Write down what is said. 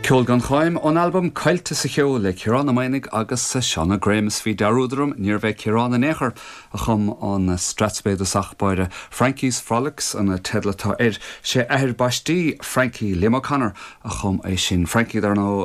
Ceol gan Choim ón albam Coillte sa Cheo le Ciarán Ó Maonaigh agus Seán Ó Graham is bhí dearúd orm, níorbh é Ciarán in aon chor a chum an Strathspey i dtosach báire. Frankie's Frolics an teideal atá air. Sé athair baistí Frankie, Liam O'Connor, a chum é sin. Frankie, dar ndóigh.